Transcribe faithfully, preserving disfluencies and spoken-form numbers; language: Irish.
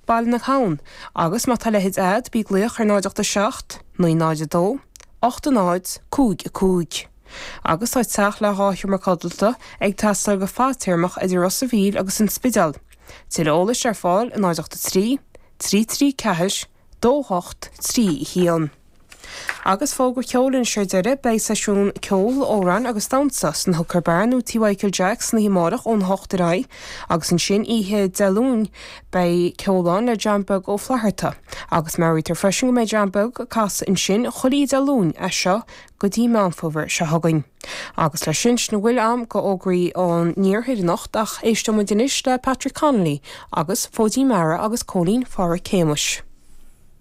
Baile na hAbhann, agus má tá a leithéid a'd, bí ag glaoch ar náid ocht a seacht, naoi náid a dó, ocht a náid, cúig a cúig. Agus tá teach le dhá sheomra codlata ag teastáil go fadtéarmach idir Ros a' Mhíl agus an Spidéal. Tuilleadh eolais ar fáil i náid ocht a trí, trí trí ceathair, dó hocht, trí a haon. Agus fógra ceoil anois ar deireadh, beidh seisiún ceoil, amhrán agus damhsa san Hooker Bar nó Tí Mhichael Jack san oíche amárach ón hocht ar aghaidh agus ansin oíche Dé Luain beidh ceol ann le John Beag Ó Flatharta agus meabhraítear freisin go mbeidh John Beag ag casadh ansin chuile oíche Dé Luain as seo go dtí Meán Fómhair seo chugainn. Agus leis sin, sin a bhfuil a'm go fhógraí ón iarthar anocht ach éisteoidh muid anois le Patrick Connolly agus Fóidín Meara agus Cóilín Pháraic Shéamuis.